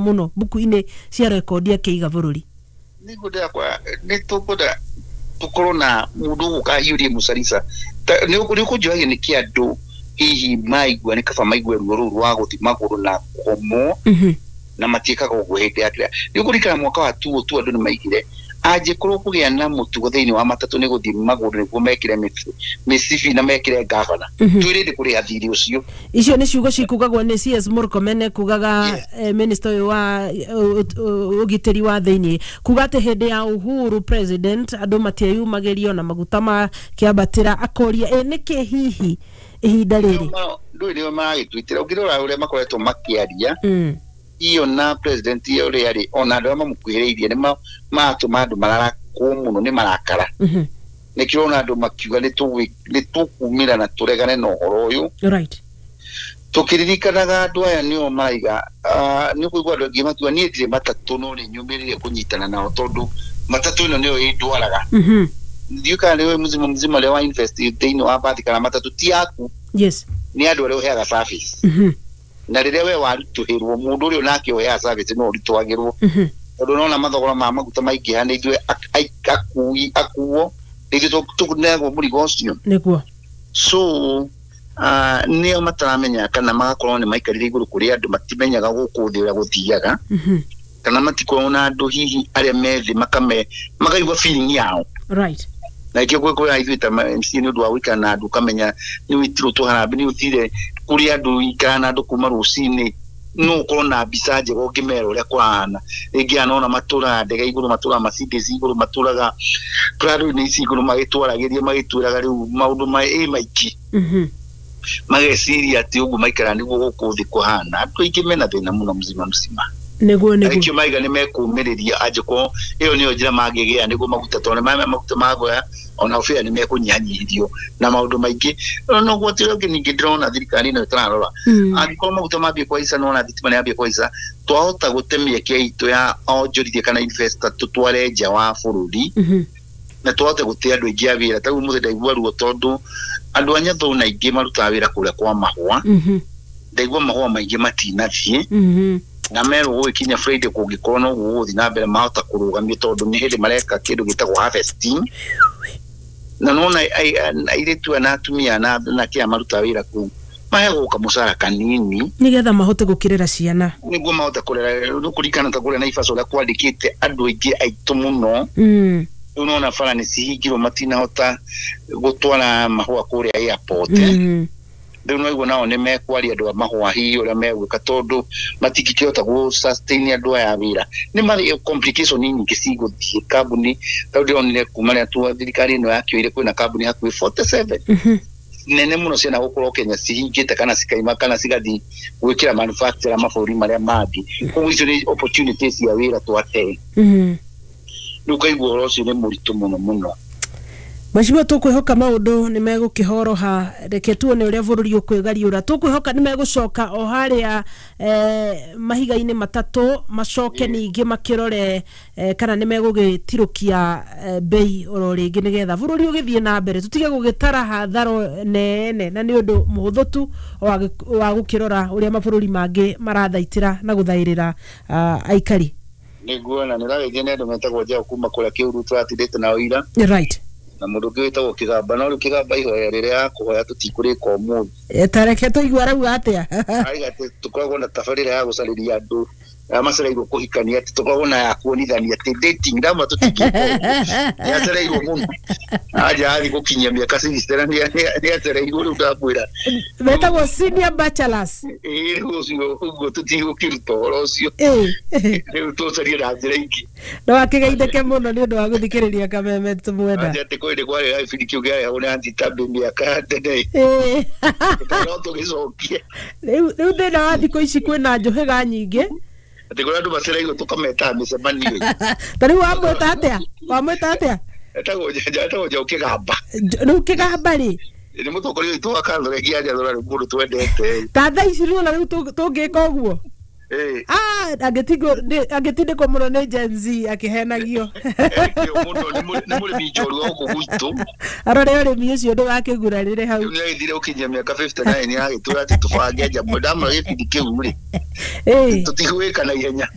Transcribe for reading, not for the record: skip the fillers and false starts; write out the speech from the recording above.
Mũno mbuku-inĩ cia rekondi akĩiga bũrũri. Nĩguo ndĩrakwa nĩ tũkwenda tũkorwo na mũndũ ũgũka ahiũrie mũcarica. Nĩ ũkũnjũragia nĩkĩ andũ hihi maigua nĩ kaba maigue ruo rũu rwa gũthiĩ magũrũ na kũgomwo na matiĩkaga ũguo hĩndĩ ya kĩrĩa. Nĩ ũkũririkana mwaka wa tuo tu andũ nĩ maigire angĩkorwo kũgĩa na mũtugo thĩinĩ wa matatũ nĩ gũthiĩ magũrũ nĩguo mekĩre mĩcibi na mekĩre ngavana, twĩ ready kũrĩha thirĩ ũcio. Icio nĩ ciugo cikugagwo nĩ CS Murkomen, kugaga minister ũyũ wa ũgitĩri wa thĩinĩ, kuga atĩ hĩndĩ ya Uhuru president andũ matieyumagĩrio na maguta makĩambatĩra, akoria ĩ nĩkĩ hihi ihinda rĩrĩ. Ndũĩ nĩo maragĩtwitĩra ũngĩrora ũrĩa makoretwo makĩaria iyo na president ũrĩa arĩ ona andũ arĩa mamũkuhĩrĩirie nĩ maratũma andũ mararakwo mũno nĩ marakara. Nĩkĩo ũrona andũ makiuga nĩ tũkumĩra na tũregane na ũhoro ũyũ. Tũkĩririkanaga andũ aya nĩo maraiga nĩ ũkũigua andũ aingĩ makiuga niĩ ndirĩ matatũ no nĩ nyũmĩrĩire kũnyitana nao tondũ matatũ ĩno nĩyo ĩndwaraga. Ndiũĩ kana nĩũĩ mzima mzima ũrĩa wa invest thĩinĩ wa bathi kana matatũ ti yaku, nĩ andũ arĩa ũheaga service. Na rĩrĩa we waritũhĩrwo, mũndũ ũrĩa onake ũheaga service no ũritũhagĩrwo tondũ nona mathogora ma maguta maingĩha nĩ ithuĩ akui akuo nĩ ithuĩ tũneagwo mũrigo ũcio. So nĩo mataramenya kana magakorwo nĩ maikarire igũrũ kũrĩ andũ matimenyaga gũkũ thĩ ũrĩa gũthiaga kana matikoragwo na andũ hihi arĩa me thĩ makame makaigua feeling yao. Na ikĩo kwĩ ithuĩ ta MC nĩ ũndũ wa gũikara na andũ ũkamenya nĩ wĩtirwo tũharambĩ nĩ ũthire kũrĩ andũ ikara na andũ kuma rũcinĩ no ũkorwo na mbica njega ũngĩmera ũrĩa kũhana. Rĩngĩ aya nona matũraga ndege igũrũ, matũraga Mercedes igũrũ, matũraga Prado-inĩ ici igũrũ, magĩtwaragĩria magĩtwĩraga rĩu maũndũ ĩ maingĩ. Mageciria atĩ ũguo maikara nĩguo gũkũ thĩ kũhana. Andũ aingĩ mena thĩna mũno mzima mzima. Nĩguo. Nĩkĩo maiga nĩ mekũmĩrĩria angĩkorwo ĩyo nĩyo njĩra mangĩgĩa nĩguo maguta tondũ nĩ maguta magoya ona bĩa nĩ mekũnyihanyihĩrio na maũndũ maingĩ. No gwati ũrĩa ũngĩ ningĩ ndĩrona thirikari ĩno ĩtararora, angĩkorwo maguta mambie kũhaica nona thitima nĩ yambie kũhaica, twahota gũte mĩeke itũ ya onjorithia kana investor tũtware nja wa bũrũri na twahote gũte andũ aingĩ a wĩra. Ta rĩu ũmũthĩ ndaigua ruo tondũ andũ a Nyathũna aingĩ marutaga wĩra kũrĩa kwa mahũa. Ndaigua mahũa maingĩ matinathiĩ na merwo gũgĩkinya Friday kũngĩkorwo no ũguo gũgũthiĩ na mbere mahota kũrũgamio tondũ nĩ hĩndĩ mareka kĩndũ gĩtagwo harvesting. Na nona airĩtu aya na atumia na kĩa marutaga wĩra kũu maheagwo kamũcara kanini nĩgetha mahote gũkĩrera ciana. Nĩguo mahote kũrera. Rĩu kũringana ta kũrĩa Naivasha ũrĩa kwandĩkĩte andũ aingĩ aitũ mũno. Rĩu nona bara nĩ cihingirwo, matinahota gũtwara mahũa kũrĩa airport. Rĩu no igua nao nĩ mekwaria andũ a mahũa hihi ũrĩa megwĩka tondũ matingĩkĩhota gũ sustain andũ aya a wĩra. Nĩ marĩ complication nyingĩ cigũthiĩ kambuni. Tondũ ndĩronire kuma rĩrĩa thirikari ĩno yakĩoire kwĩna kambuni hakuhĩ 47 nene mũno ciana gũkorwo Kenya cihingĩte kana cikaima kana cigathiĩ gwĩkĩra manufacture mabũrũri marĩa mangĩ. Koguo icio nĩ opportunities cia wĩra twate. Rĩu ũkaigua ũhoro ũcio nĩ mũritũ mũno mũno. Mheshimiwa, tũkwĩhoka maũndũ nĩ megũkĩhoroha. Reke tuone ũrĩa bũrũri ũkwĩgariũra. Tũkwĩhoka nĩ megũcoka o harĩa mahiga-inĩ matatũ macoke ningĩ makĩrore kana nĩ megũgĩtirũkia bei oro rĩngĩ nĩgetha bũrũri ũgĩthiĩ na mbere, tũtige gũgĩtara hatharo nene na nĩ ũndũ mũhũthũ tu wa gũkĩrora ũrĩa mabũrũri mangĩ marathaitĩra na gũthaĩrĩra aikari. Nĩguo, na nĩ ũragĩithia nĩ andũ metagwo Njaũ kuma kũrĩa Kĩuru tũratindĩte nao ira na mũndũ ũngĩ wĩtagwo Kĩgamba. No rĩu Kĩgamba ihoya rĩrĩa yakũhoya tũtikũrĩka ũmũthĩ. Tareke tũigua arauga atĩa. Aiga atĩ tũkoragwo na tabarĩra ya gũcarĩria andũ arĩa macereirwo kũhikania, atĩ tũkoragwo na ya kuonithania atĩ dating ndama tũtingĩka ũguo. Nĩ acereirwo mũno anja athiĩ gũkinyia mĩaka 60 na nĩ acereirwo rĩu ndamwĩra. Metagwo senior bachelors. Ĩĩ, rĩu ũcio ũguo tũtigũkĩruta ũhoro ũcio. Rĩu tũcarie na njĩra ingĩ. No akĩgeithĩke mũno nĩ ũndũ wa gũthikĩrĩria Kameme tũmwenda. Anja atĩ kwĩ hĩndĩ kwarĩ na gĩbindi kĩu kĩarehagwo nĩ Aunty Tabby mĩaka ya tene. No tũgĩcokie. Rĩu thĩna wa thikũ ici kwĩna njũhĩga nyingĩ. Atĩ kũrĩa andũ macereirwo tũkametaga mĩcemanio. Ta rĩu wamwĩta atĩa, wamwĩta atĩa? Etagwo Njaũ Kĩgamba. Rĩu Kĩgamba rĩ, nĩ mũtongoria witũ wa Catholic ya Njathũra, rĩu mũndũ twendete. Ta thaa ici rĩu ona rĩu tũngĩka ũguo, angĩtindĩkwo mũno nĩ Gen Z akĩhenagio. Ekĩo mũno nĩ mũrĩmi njorua gũkũ gwitũ. Arore ũrĩmi ũcio ndũgakĩgurarĩre hau. Rĩu nĩ agĩthire gũkinyia mĩaka 59 agĩtwĩra atĩ tũbange njambo ndamũra gĩbindi kĩu rĩ, tũtigwĩka na ihenya.